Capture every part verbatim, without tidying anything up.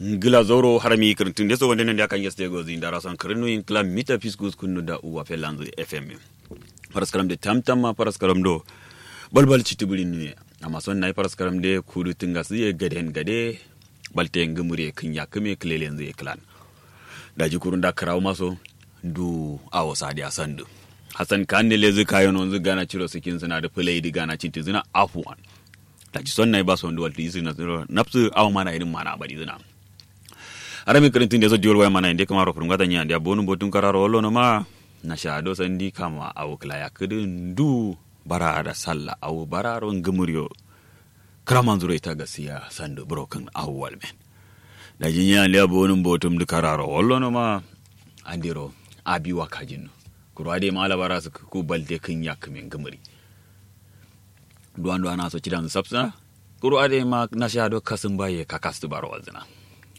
Ngla zauro harami kǝrǝntǝn deso wande nandi akan yeste gozi ndara son kǝrǝnu in kla mita fiskus kunnu da uwa felanzu fm. Faraskaram de tamtam ma faraskaram do balbal citibiri nuye. Amma son nayi faraskaram de kudu tungasu ye gaden gade. Balte ngumuri ye kǝnya kǝme kǝlelenzu ye klan. Daji kurun da kǝrawu maso ndu awo sadiya sandu. Hassan kan ne lezu kayo nonzu gana ciro sikin zina da fulai di gana cinti zina afuwan. Daji son nayi ba sondu waltu isu na zina nafsu awo mana irin mana bari zina. Harami kǝrǝntǝn deso diwol waya mana inde kǝmaro furungata nya ndiya bonu botun kararo wallo no ma. Na sha do sandi kama awo kǝla ya kǝdǝ ndu bara da salla awo bararo ngumuriyo. Kǝramanzuro ita gasiya sandu buro kǝn awo walmen. Daji nya ndiya bonu botum dǝ kararo wallo no ma. Andiro abi wa kajin no. Kuru ade ma alabara sǝkku balte kǝnya kǝme ngumuri. Duwan duwan aso cidan sapsǝna. Kuru ade ma nasha do kasǝmba ye kakastǝ baro walzǝna.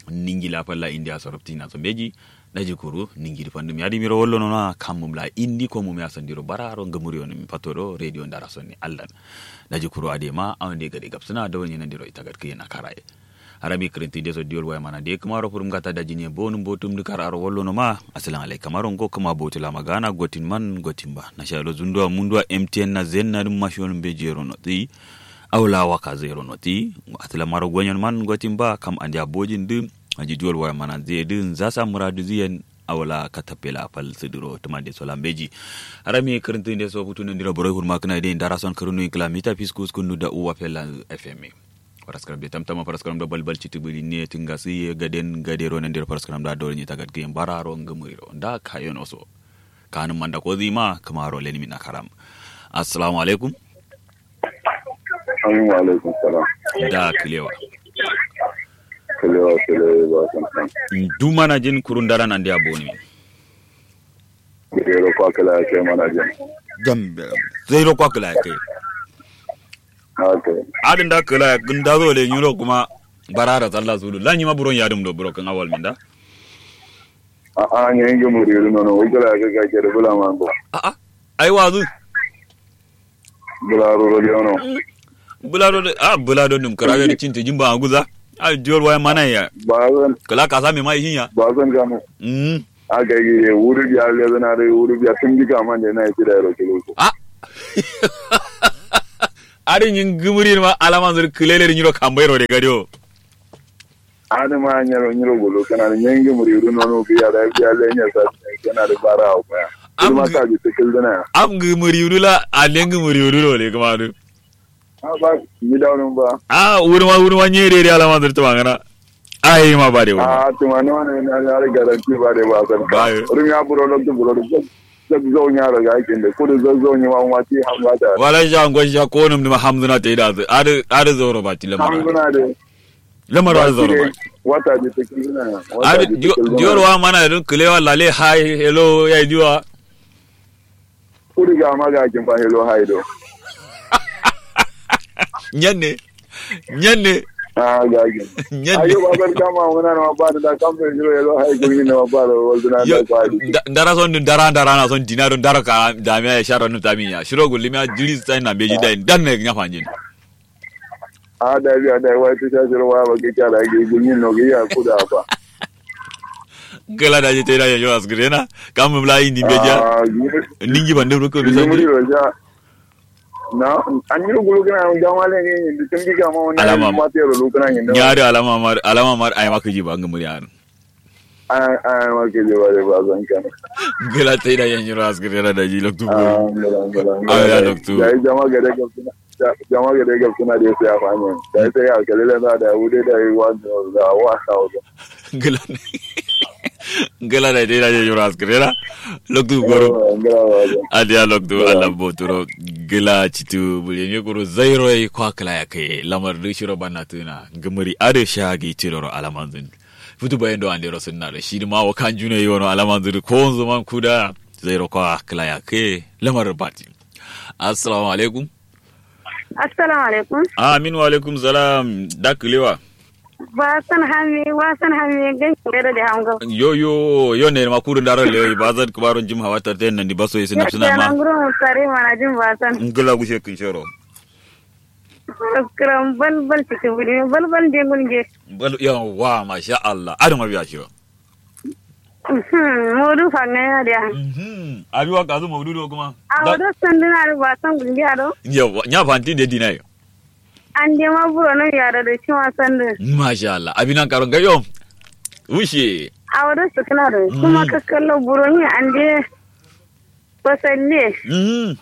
Ningi la falla indiya so ruptina so mbeji. Daji kuru ningi dǝ fandum yadi miro wallo nona kammum la indi komum ya sandiro bararo ngumuriyo numi fato do radio ndara sonni allan. Daji kuru ade ma awande gade gapsǝna dawanye nandiro ita gatkiye na karaye. Harami kǝrǝntǝ deso diwol waya mana de kǝmaro furum gata dajiniye bonum botum dǝ kararo wallo noma. Assalam alaikum aro ngo kǝma botu lama gana gotin man gotin ba nasha do zunduwa munduwa mtn na zenna dǝm mashiyon mbeji yero notsi. Awo la waka zero noti. Aslamaro gonyon man gotin ba kam andiya bojin dǝ. Aji duwol waya mana zeye dǝ nzasa muradu ziyen. Awo la katapela fal sǝdǝro tǝmande so lambeji. Harami kǝrǝntǝ nde so futu nandiro boroi hurma kǝna de ndara son kǝrǝnu inkla mita fiskus kundu da uwa fela. Fm. Faraskaram de tamtama faraskaram do balbal citibiri ne tǝngasǝ ye gaden gadero nandiro faraskaram da doro nye tagat gǝyen bararo ngǝmuriro nda kayono so. Kanǝm manda kozi ma kǝmaro lenimi nakaram. Assalamu alaikum. Amin wa alaikum salam. Da kǝlewa. Kǝlewa kǝlewa ba san san. Ndu mana jin kurun dara nandi aboni. Zero kwa kǝla ya kai mana jin. Gambe. Zero kwa kǝla ya kai. Adǝ nda kǝla ya gǝnda zo le nyiro kuma. Barara zalla zulu la nyima buron yadǝm do buro kǝn awal minda. A'a nyengi muriru nono wukula ga ga kere bula mango. A'a. Ai wazu. Bula roro de ono. Bula do a bula do num kara de cinti jimba anguza. Ai diyor waya mana ya. Bazan. Kala kasa me mai hinya. Bazan gano. Mm. A ga gi wuri biya le zana de wuri biya tun diga man de na yi da ro kilo. A. Ari nyin gumuri ma alama zur kulele nyiro kambai ro de gadio. Adǝ ma nyiro nyiro gulu kǝna dǝ nyengi muriru nono biya da biya le nya sa kǝna dǝ bara awo baya. Am kǝma gǝ- kaji tǝkǝl dǝna ya. Am gǝ muriru la a lengi muriru lo le kǝma dǝ. A ba mi dawo nǝm ba. A wurma wurma nye de de alama dǝr tǝma ngana. Ai ma ba de wurma. A tǝma no ne na na garanti ba de ba san. Ba yo. Rum ya buro loktu buro dǝ. Zagzau nya ro ga kin dǝ kudu zagzau nyi ma ma ti hamza ta. Wala ja ngo ja ko nǝm dǝ ma hamzuna te da adǝ adǝ zoro ba ti lamara. Hamzuna de. Lamar wa zoro ba. Wata di ta kilina. Adi diyor wa mana dun kulewa lale hai hello ya diwa. Kuri ga ma ga kin ba hello hai do. Nyanne. Nyanne. Ah ga kin. Nyanne. Ayo ba ban kama wona na ba da kan be hello hai kun ni na ba da wal duna da kwadi. Dara son dun dara dara na son dinaro dara ka da me ya sharo nu tamiya shiro gulmiya jiri sai na beji dai dan ne nya fanjin. A da biya da wai tu sha shiro wa ba ke kya da ge gunyin no ge ya kuda ba. Gala da je te da yo asgre na kam bla indi be ja. Ningi bande ru ko bi sanji. Na an yi gulu kana ga ma le ne ni tun bi ga ma wannan. Alama ma te ro lu kana ni. Nya da alama mar alama mar ai ma kiji ba ngumuri an. Ai ai ma kiji ba de ba zan kana. Gala te da yan yiro asgre na da ji loktu. Ah ngala ngala. Ai ya loktu. Ya jama gare ga jama gade gab suna de sai a fani da sai ya kalila na da wude da yi wa da wa sauda. Gila. Gila da dai da je yura askare na. Loktu goro. Adiya loktu allah boturo. Gila citu buri ne goro zairo yi kwa kala ya kai lamar du shiro banna tuna gumuri ade shagi tiroro alamanzun. Futu bayan do andero sunna da shi ma wa kan juna yi wano alamanzun ko zaman kuda. Zairo kwa kala ya kai lamar bati. Assalamu alaikum. Assalamu alaikum. Amin wa alaikum salam. Da kulewa. Ba san hami wa san hami gan kere da hamga. Yo yo yo ne ma kuru ndaro le ba zan kuma ron jim hawa tarten nan di baso yesu nafsuna ma. Nan guru sare mana jin ba san. Ngula gushe kin shero. Kǝram balbal cǝkǝ bǝrime balbal nde ngulnge. Bal yawwa masha allah adǝ ma biya shiro. Modu fangaya diya. Abi wa kazu maudu do kuma. Awo do sanduna do ba san gulnge ado. Yawwa nya fanti de dinayo. Ande ma buro no yaro do shima sandu. Masha allah abi nan karo ngayo. Wushe. Awo do sukuna do kuma kakkallo buro ni ande. Fasalle.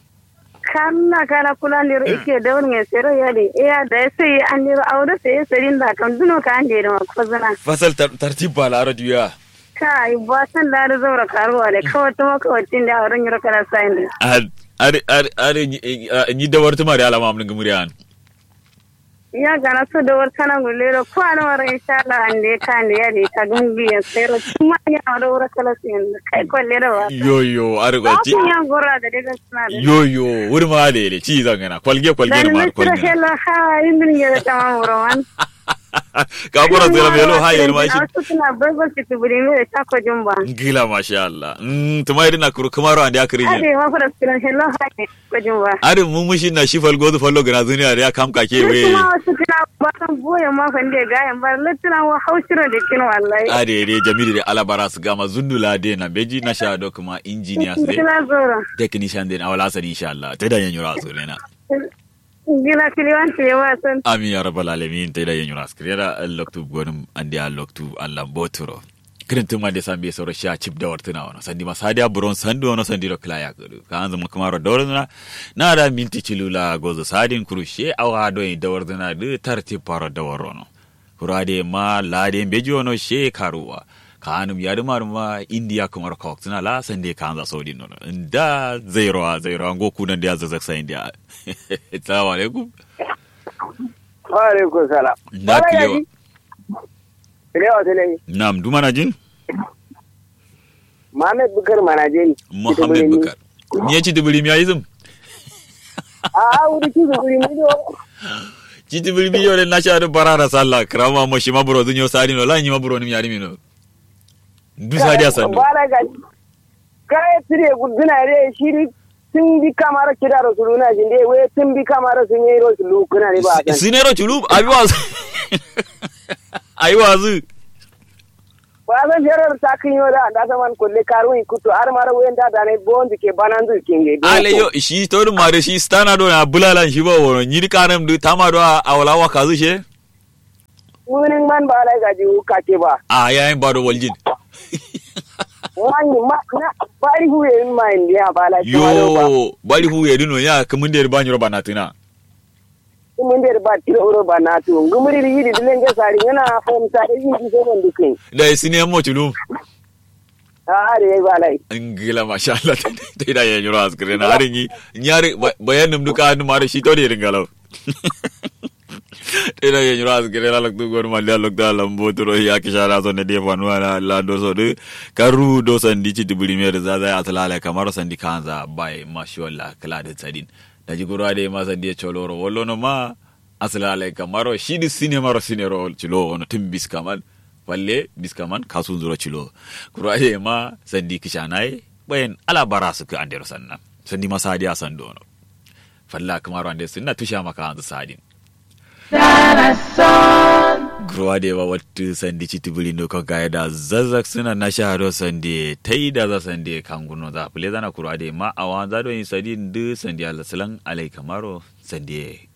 Kalla kala kula ndiro ikke dawar nge sero yadi iya da sai an ndiro awo do sai sadin da kam duno ka ande da ma kozana. Fasal tartib ba laro diya. Kai ba san da da zaura karuwa da kawai tuma kawai tin da awo do nyiro kala sai ndi. Ari ari ari ni dawar tuma da alama amnin gumuriyan. Ya gana so dawar tana gulle do ko ana wara insha Allah ande ka ande ya de ka gungi ya sero tuma ya wara wara kala sin kai kolle da wa. Yo yo ari go ci. Ba ku yan gora da daga suna da. Yo yo wuri ma da ile ci zangana kwalge kwalge na ma kwalge. Hello ha indin ya da tamam roman. Ka gora zira melo ha yel ma shi. Suna babal ci tuburi me ta ko jumba. Ngila masha Allah. Mm tuma idin na kuru kumaro ande akiri. Ade ma fura suna hello ha. Adǝ mumushi na shi falgozu fallo gǝna zuniya dǝ ya kam kake we. Lǝttǝna wa sǝkkǝna ba san boye ma fande gayen ba lǝttǝna wa hau shiro dǝkkin wallahi. Adǝ ye dǝ jamilu dǝ ala bara sǝgama zundu la dǝ ye na mbeji na sha do kǝma injiniya sǝ dǝ. Technician dǝ ye na wala sani insha allah taida nyenyiro asurena. Gila kiliwan tǝ ye wa san. Amin ya rabbal alamin taida nyenyiro askǝrena. Loktu gonǝm andeya loktu allah mboturo. Kǝrǝntǝma nde sambe soro sha cip dawartǝna wono sandima sadiya buron sandu wono sandiro kǝla yakǝdǝ kaanzǝ mukǝmaro dawartǝna. Na da minti cilu la gozo sadin kuru she awa doi dawartǝna dǝ tartib faro dawarrono. Kuru adǝ ye ma lade mbeji wono she karuwa. Kaanǝm yadǝma dǝma indiya kǝmaro kawaktǝna la sande kaanza sodin nono nda zairowa zairowa ngo kunan diya zazak sayin diya. Salamu alaikum. Wa alaikum salam. Nda kǝlewa. Kǝlewa sǝlai. Nam ndu manajin? Muhammad bukar manajin. Muhammad bukar. Nyi ye citibǝrimi ya isǝm? A'a wuri citibǝrimi do. Citibǝrimi yo dǝ nasha dǝ barara salla kǝrama mo shima burodǝ nyo sadin wala nyima buronǝm yadǝ mino. Ndu sadiya sandu. Kaye tǝre gulgǝna dǝ ye shi dǝ. Tǝmbi kamaro kidaro sǝluna shi nde we tǝmbi kamaro sǝ nyero sǝlu kǝna dǝ ba san. Sǝ nyero culu abi wazǝ. Ayi wazǝ. Ba san ferar takǝn yo da nda saman kulle karuwin kuttu har maro we nda danai bonzǝ ke bananzǝ kenge. Ale yo shi todǝ ma dǝ shi stana do na bulalan shi ba wono nyi dǝ kanam dǝ tama do a wala wakazǝ she. Munin man ba lai gaji wu kake ba. A yayin ba do waljin. Wani ma na bari huye yin ma yin ya ba lai. Yo bari huye dino ya kǝmin da ba nyiro ba na tuna. Kǝmin da ba tiro uro ba na tu ngumuri ri yidi dilen ge sari ngana fom sari yin di zaman dukin. Da isine mo tulu. A'a dǝ yai ba lai. Ngila masha allah. Taida ye nyiro askǝrena adǝ nyi nyi adǝ bayan nǝm dǝ ka nǝm adǝ shi todǝ ye dǝ ngalau. Taida ye nyiro askǝrena loktu gonǝm andeya loktu allan mboturo ya kǝshana so nde de fanuwa na lando so dǝ. Karru do sandi citibǝrime dǝ zaza ye asǝla lai kamaro sandi kaanza bai mashiwalla kǝla dǝ sadin. Daji kuru adǝ ye ma sandi ye coloro wallono ma. Asǝla lai kamaro shi dǝ sine maro sine ro cilo wono tǝm biskaman. Falle biskaman kasunzuro cilo. Kuru adǝ ye ma sandi kǝshana ye bayan ala bara sǝkkǝ andero sanna. Sandi ma sadiya sandu wono. Falla kǝmaro ande sǝnna tusha ma kaanzǝ sadin. Kuru adǝ ye ma wattǝ sandi citibǝrin do ko gaye da zazzak sǝna nasha do sandi ye taida za sandi ye kanguno za fǝle zana kuru adǝ ye ma awanza do yin sadin dǝ sandi ye alasilan alai kamaro sandi ye.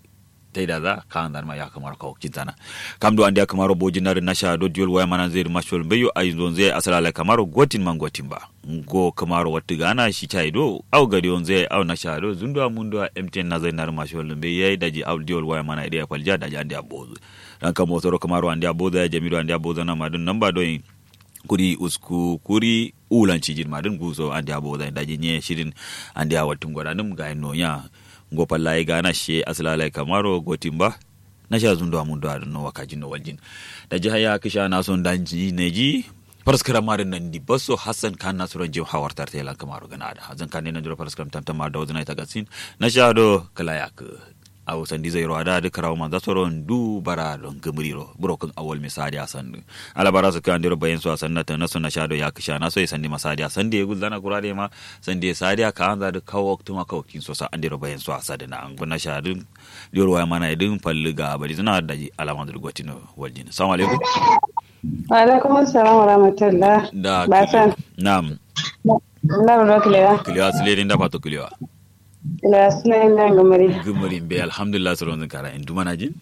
Taidaza kaanzanma ya kǝmaro kawakcinzana. Kam do andeya kǝmaro bojinna dǝ nasha do diyol waya mananzǝ ye dǝ mashol mbeyo ayinzonzǝ yayi asǝla lai kamaro gotin ma gotin ba. Ngo kǝmaro wattǝ gana shi cayi do au gadiyonzǝ yayi au nasha do zunduwa munduwa mtn nazai na dǝ mashol mbeyo yayi daji au diyol waya mana ye dǝ yayi faljiya daji andeya bozǝ. Ranka mosoro kǝmaro andeya bozǝ yayi jami do andeya bozǝ na ma dǝ namba doyin. Kuri usku kuri ulan cijin madǝn nguso andeya bozai daji nye shirin. Andeya wattǝn godanǝm gayin nonya. Ngo falla ye gana shiye asǝla lai kamaro gotin ba. Nasha zunduwa munduwa dǝn no wakajin no waljin. Daji haya kǝsha naso ndanji neji. Faraskǝram madǝn nandi basso hassan kan nasuran jim hawar tarte lan kamaro gǝna adǝ hazan kande nandiro faraskǝram tamtam ma dawazǝna ita gasin. Nasha do kǝla yakǝ. Awo sandi zairo adǝ adǝ kǝrawo manza soro ndu bara do ngǝmǝri ro buro kǝn awal me sa'adiya sandu. Ala bara sǝkkǝ andero bayen so asanna tana so nasha do ya kǝshana so ye sandi ma sa'adiya sandu ye gulzana kura de ma sandi ye sa'adiya ka'anza dǝ kawo waktǝ ma kawo waktin so sa andero bayen so asadǝna ngu nasha dǝ. Diyoro waya mana ye dǝ fallu ga bari zǝna daji alamanzǝ dǝ gotino waljin. Salamu alaikum. Wa alaikum assalam wa rahmatullah. Da basan. Na'am. Nda ro kǝlewa. Kǝlewa sǝle de nda fato kǝlewa. Kǝlewa sǝle nda ngǝmǝri. Ngǝmǝri mbe alhamdulillah soro nzǝn kara en du manajin.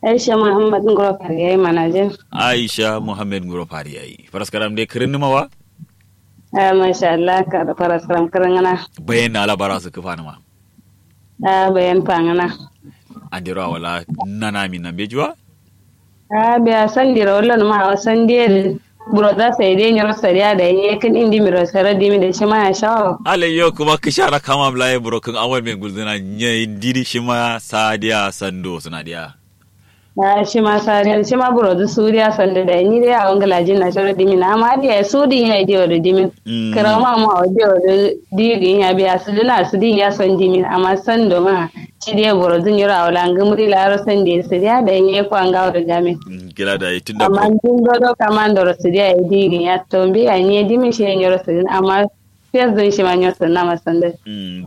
Aisha muhammad nguro fari yayi manajin. Aisha muhammad nguro fari yayi faraskaram de kǝrin numa wa. Ah masha Allah kara faraskaram kǝrin ngana. Bayan na ala bara sǝkkǝ fanuma. Ah bayan fangana. Andero awala nana min nambe juwa. Ah biya sandiro wallo numa awo sandi ye dǝ. Buro za sai dai nyiro sadiya da ye kǝn indi miro sero dimi da shima ya shawaro. Alai yo kuma kǝshara kama bla ye buro kǝn awal me gulzǝna nye indi dǝ shima sadiya sando sǝna diya. Ah shima sadiya shima buro dǝ sudiya sando da ni dai awo ngǝlajin na shero dimin amma diya sudin ya diyo dǝ dimin. Kǝrau ma ma awo diyo dǝ digin ya biya sudina sudin ya son dimin amma sando ma. Cide boro dǝ nyiro awo la ngǝmǝri laro sande sǝdiya da ye kwa ngawo dǝ gamin. Gila da ye tunda amma ndun dodo kamandoro sǝdiya ye digin ya tombi ya nye dimin shi ye nyiro sǝdin amma fes dǝn shima nyo sǝdin amma sande.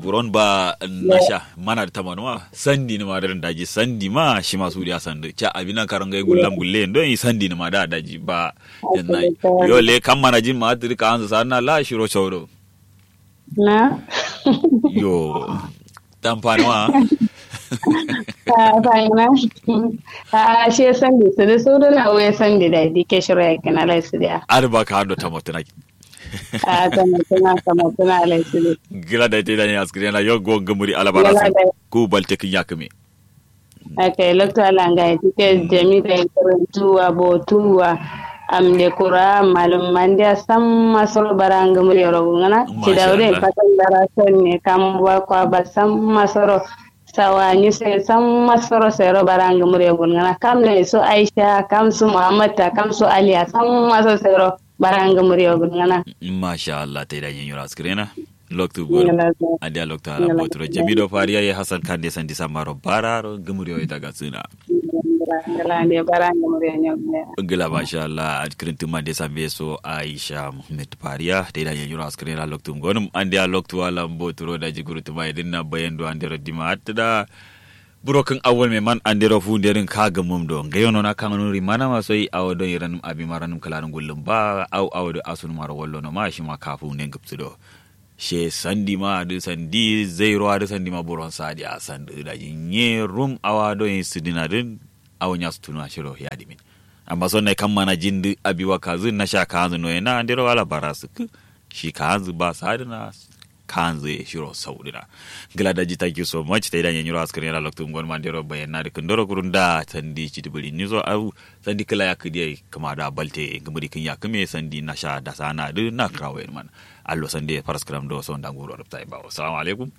Buron ba nasha mana dǝ tamanu ma sandi nǝma dǝ daji sandi ma shima sudiya sande ca abina karon gai gullam gulle ndo yi sandi nǝma da daji ba. Janna yo le kam mana jin ma tiri ka anzu sanna la shiro shaudo. Na yo tamfani ma. A fani ma. A she sandi sulu sulu na we sandi da dike shiro ya kina lai sulu ya. Ar ba ka hando tamotuna. A tamotuna tamotuna lai sulu. Gila da ita idan ya askiri yana yo go ngumuri alabara su ku balte kin ya kume. Aka ye loktu ala ngaye tike jami da ye karantuwa botuwa. Amde kura malum mandiya samma soro bara ngumuri yoro gulngana. Cidawde faton bara sonne kam wa kwa ba samma soro. Sawa ni sai samma soro sai ro bara ngumuri yoro gulngana kam ne su aisha kam su muhammad ta kam su aliya samma soro sai ro. Bara ngumuri yoro gulngana. Masha allah tai da yin yura skrena. Loktu goro. Adiya loktu ala boturo jamido fariya ye hasan kande sandi samaro bararo gumuriyo ita gatsina. Ngila masha allah adkirin tuma de sambe so aisha muhammad fariya te da yanyuro askirina loktu gonum andiya loktu ala boturo da jiguru tuma idin na bayando andero dima atta da. Buro kǝn awwal me man andero fu nderin ka gǝmum do ngai yono na kanganu rimana ma soi awo do iranum abi maranum kǝlanum gullum ba au awo do asunum aro wallono ma shima kafu nde ngǝpsu do. She sandi ma adǝ sandi zairo adǝ sandi ma buron sadi a sandǝ daji nye rum awa do yin sǝdǝna dǝ. Awo nya sutunu ashiro yadimin. Amma son nai kam mana jin dǝ abi wa kazǝ nasha kaanzǝ noye na andero ala bara sǝkkǝ. Shi kaanzǝ ba sadǝna. Kaanzǝ ye shiro saudǝna. Ngla daji thank you so much taida nyenyiro askǝrǝ yena loktu ngon mandero bayanna dǝ kǝndoro kurun da sandi citibǝri niso au. Sandi kǝla yakkǝ diye kǝma da balte ngǝmǝri kǝn yakkǝ me sandi nasha dasana dǝ na kǝrawo yen man. Allo sande faraskǝram do sonda nguro rǝptai bawo salamu alaikum.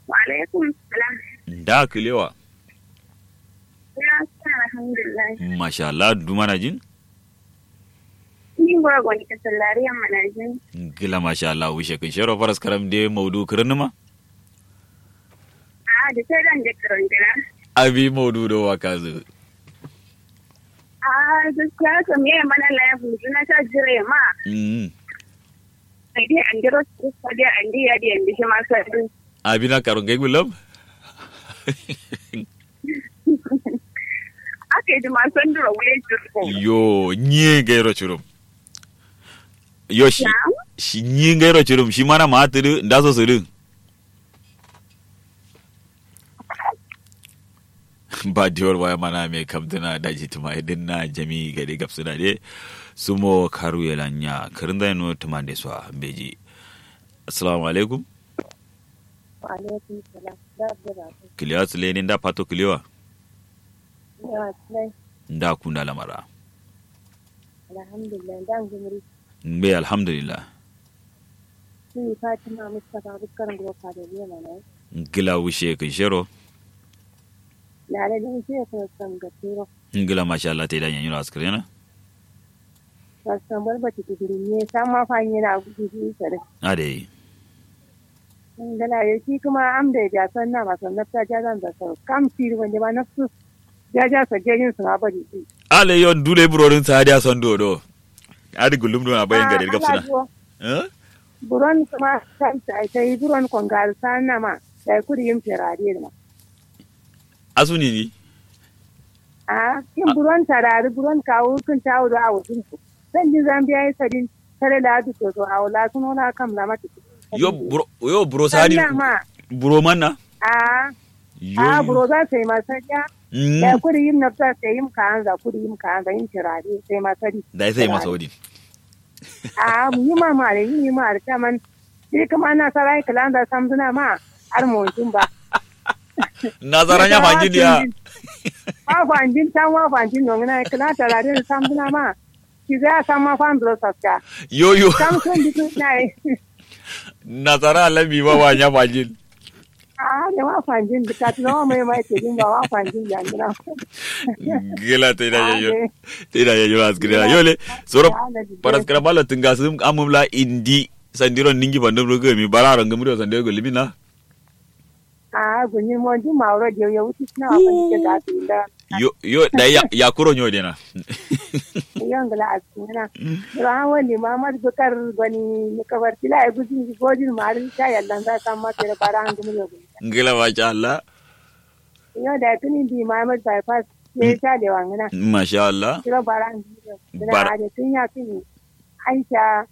Wa alaikum salam. Nda kǝlewa. Alhamdulillah. Masha allah duma na jin. Ni ngoro goni kasallari yamma na jin. Ngla masha allah wishe kǝn shero faraskǝram de maudu kǝrǝnǝma. A da sai dan de kǝrǝn gina. Abi maudu do wa kazǝ. A gaskiya kam yayi mana la ya buzu na ta jire ma. Mm. Ai dai an diro su ko dai an dai ya dai an dai shi ma sai. Abi na karo ngai gullam. Aka yi duma sanduro wule jirgo. Yo nye gairo curum. Yo shi. Shi nye gairo curum shi mana ma tudu ndaso sudu. Ba diwol waya mana me kamtuna daji tuma idin na jami gade gabsuna de. Sumo karu yelanya karin zai no tuma de so beji. Assalamu alaikum. Wa alaikum salam. Kiliya sule ni nda fato kiliwa. Nda kunda lamara. Alhamdulillah nda ngumuri. Mbe alhamdulillah. Ni fatima mustapha bukkar nguro kadaliya mana. Ngila wushe kishero. Lale ni wushe ko samgaturo. Ngila masha allah te da nyanyiro askrena. Wasu tambar bati kudurunye sama fanye na gudu sare. Adai. Ngla yo shi kǝma am dai biya sannama so nafsa jazan za so kam shi dǝ wande ma nafsu jaja so jejin sǝma bari shi. Ale yo ndule burodin sadiya son do do. Adi gullum do na bayan gade gabsuna. Buron kǝma sai sai buron kongal sannama sai kudi yim ferade ma. Asuni ni. A kin buron tarari buron kawu kin tawu do awu din. San din zambiya yi sadin. Kare la du to to awu la suno la kam la mati. Yo buro yo buro sadi. Sanna ma. Buro manna. A yo a yo buro za sai ma sadiya. Mm. Da kudi yim nafsa sai yim ka anza kudi yim ka anza yim tirare sai ma sadi. Da sai ma saudi. A mu yi ma mare yi ma are taman. Shi kuma na sarai kalanda samzuna ma. Har mu jin ba. Nasara nya fanjin ya. Wa fanjin tan wa fanjin no ngana kala tarare samzuna ma. Ki za san ma fan dro saska. Yo yo. San sun di kun nai. Nasara alabi ba wa nya fanjin. A ne wa fanjin di kat no mai mai te din ba wa fanjin ya ngana. Gela te da yo. Te da yo askira yo le. Soro paraskara bala tunga sum amumla indi sandiro ningi bandum rugo mi bararo ngumro sandiro go limina. A gunyi mo ndi mauro je yo wuti sina wa fani ke ga tinda. Yo yo da ya ya kuro nyo dena. Yo ngla asina. Ro han wani mamad bukar goni ni kabar tila e gudin gojin marin ta yallan za san ma tere bara han gumi yo. Ngla masha Allah. Yo da tuni di mamad bypass ye ta le wangina. Masha Allah. Tiro bara han gumi yo. Bara. Ade tun ya tuni. Aisha.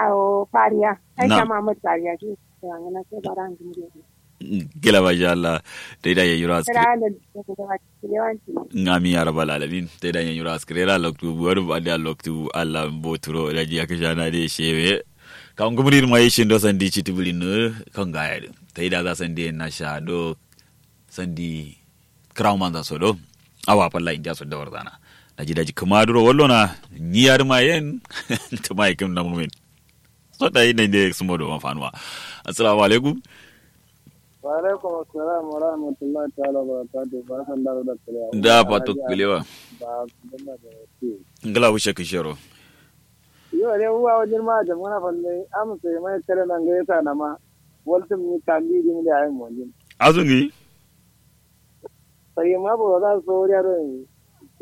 Awo fariya. Aisha mamad fariya shi. Wangina sai bara han gumi yo. Gila masha Allah. Taida yanyiro askiri. Amin ya rabbal alamin. Taida yanyiro askiri ra loktu wani ba'adi a loktu Allah boturo daji ya kasha na de shewe. Kan gumri ma yi shindo sandi citi bulin kan gaya din. Taida za sandi na sha do sandi kirawo manza so do. Awa falla indiya so da warzana. Daji daji kuma duro wallo na nyi yari ma yen. Tuma ikim na mumin. So da yi ne ne sumo do mafanuwa. Assalamu alaikum. Wa alaikum assalam wa rahmatullahi ta'ala wa barakatuh. Ba san da da kalewa da fato kalewa. Ba san da da kalewa. Ngala wushe kishero. Yo ne uwa wajin ma jam ngana falle am sai mai kare nan ga yasa na ma. Waltum ni tambi din da ayin monjin. Azungi. Sai ma bo da so ya do ni.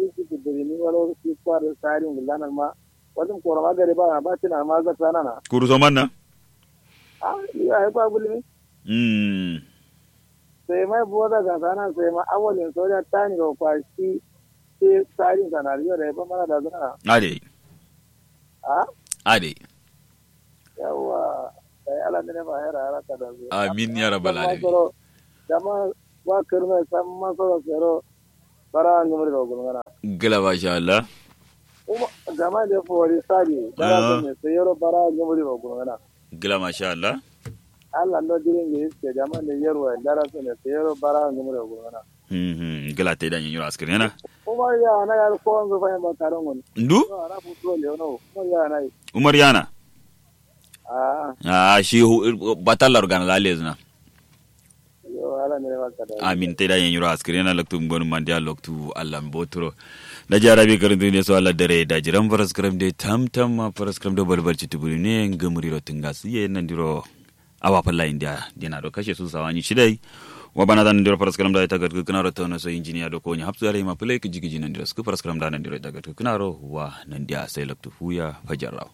Ki ki biri ni wala ki kwar sari ngulana ma. Waltum koro ma gare ba ba tina ma zakana na. Kuru so manna. Ah, ni ai ba gulmi. Mm. Sai mai buwa daga sana sai ma awalin soja tani ro kwa shi shi tsarin sanariyo da ya fi mana da zana. Ade. Ha? Ade. Yawwa. Sai ala ne ma hera hera ka da zai. Amin ya rabbal alamin. Dama ba kirme san masoro sero. Bara ngumri ro gulngana. Gila masha Allah. Gama de fori sadi bara ne sayero bara ngumri ro gulngana. Gila masha Allah. Allah ndo dirin ge iske gama de yerwa dara sene sayero bara ngumri ro gulngana. Mhm. Gila te da nyiro askirena. Umar ya na ya ko nzo fa ba karon. Ndu? Ara fu to le no. Umar ya na. Umar ya na. Ah. Ah shi batallar gana lalezna. Amin te da yen yiro askirena loktu ngonu mandiya loktu Allah mboturo. Daji arabi karantinde so Allah dare daji ran faraskaram de tamtam ma faraskaram do balbal cituburi ne ngamuri ro tunga siye nandiro. Awa falla indiya dina do kashe su sawani shidai. Wa bana da nandiro faraskaram da ita gadgu kana ro tono so injiniya do ko nya hapsu are ma play kiji kiji nandiro sku faraskaram da nandiro ita gadgu kana ro wa nandiya sai loktu fuya fajarraw.